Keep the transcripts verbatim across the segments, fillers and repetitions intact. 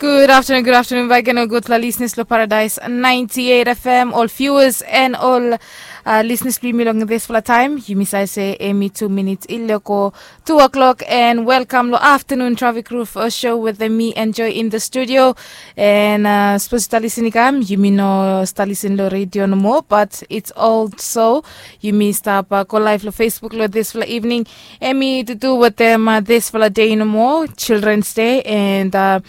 Gud aftanun, gud aftanun baik gen ol gudfala lisnis long Paradise ninety eight F M, ol viewers and ol uh, lisnis blong yumi long dispela taim. Yumi save se emi tu minits i leko tu o'clock, and welkam long aftanun Traffic Roof uh, show with me, Enjoy, in the studio. And uh, sapos yu stap lisin i kam, yumi no stap lisin long radio nomo, but it's also yumi stap uh, go live long Facebook long dispela evening. Emi to do wetem uh, dispela day nomo, Children's Day, and uh,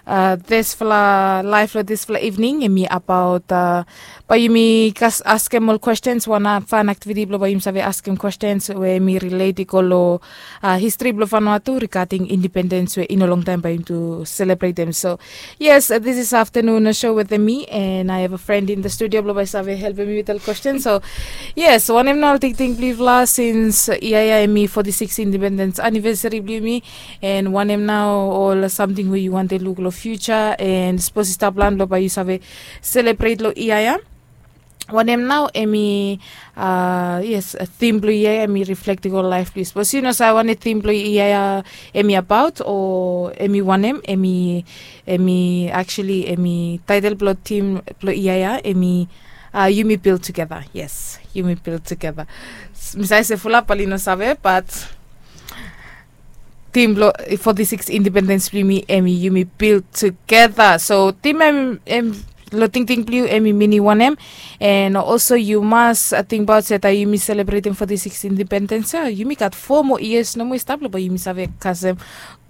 uh, dispela live long dispela evening emi about uh, bae yumi kas askem ol questions, wan uh, fun activity blong bae yumi save askem questions we emi relate i go long uh, history blong Vanuatu regarding independence we i no long taim bae yumi to celebrate them. So yes, uh, this is afternoon uh, show with me, and I have a friend in the studio blong bae save help me with all questions. So yes, wanem nao ol tingting blong yufala since uh, ia ia emi forty six independence anniversary blong yumi, and wanem nao ol samting we yu wante luk long future, and sapos i stap plan blong bae yu save celebrate long ia ia, wanem nao emi uh, yes, theme blong ia ia emi reflecting ol life blong yu. Sapos yu no save wanem theme blong ia ia emi about o emi wanem, emi emi actually emi title blong theme blong ia ia emi uh, yumi build together. Yes, yumi build together. Mi save se fulap oli no save, but theme blong forty six independence blong yumi emi yumi build together. So theme em, em lo tingting blong yu emi minim wanem? And also yu mas uh, tingbaot se taim yumi celebrating forty six independence, uh, yumi gat four more years nomo i stap long bae yumi save kasem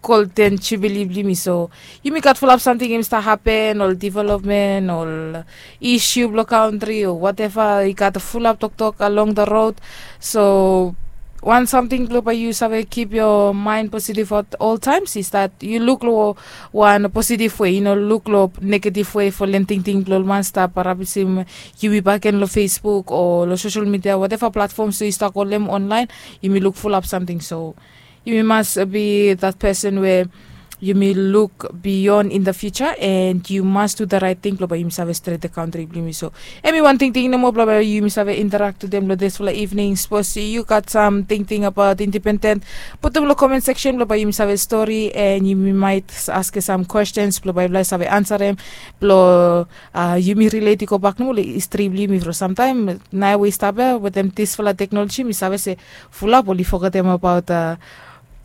golden jubilee blong yumi. So yumi gat fulap samting yumi stap happen, ol development, ol issue blong country o whatever, i gat fulap toktok along the road. So wan samting blong bae yu save keep your mind positive at all times is that yu luk long wan positive way, yu no luk long negative way for len tingting blong ol man stap rabisim yumi bakegen long Facebook o long social media, whatever platforms yu stap go long online, yumi luk fulap samting. So yumi mas be that person where yumi look beyond in the future and you must do the right thing blong bae yumi save stret the country blong yumi. So emi wan tingting nomo blong bae yumi save interact to them long dispela evening. Sapos yu gat sam tingting about independent, putum long comment section blong bae yumi save story, and yumi might ask some questions blong bae yumi save ansarem blong uh, yumi relate i go bak nomo long history blong yumi from samtaim. Nao we i stap ia wetem dispela teknoloji mi save se fulap oli fogetem about uh,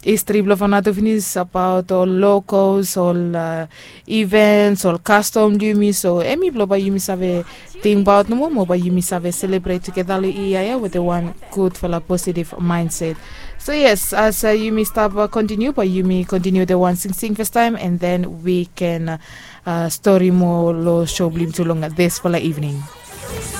history blong Vanuatu finis, about ol locals, ol uh, events, ol kastom blong yumi. So emi blong bae yumi save tingbaot nomo mo bae yumi save celebrate together long ia ia wetem wan gudfala positive mindset. So yes, as uh, yumi stap uh, continue, bae yumi continue the wan singsing first time, and then we can uh, uh, story mo long show blong yumi tu long dispela evening.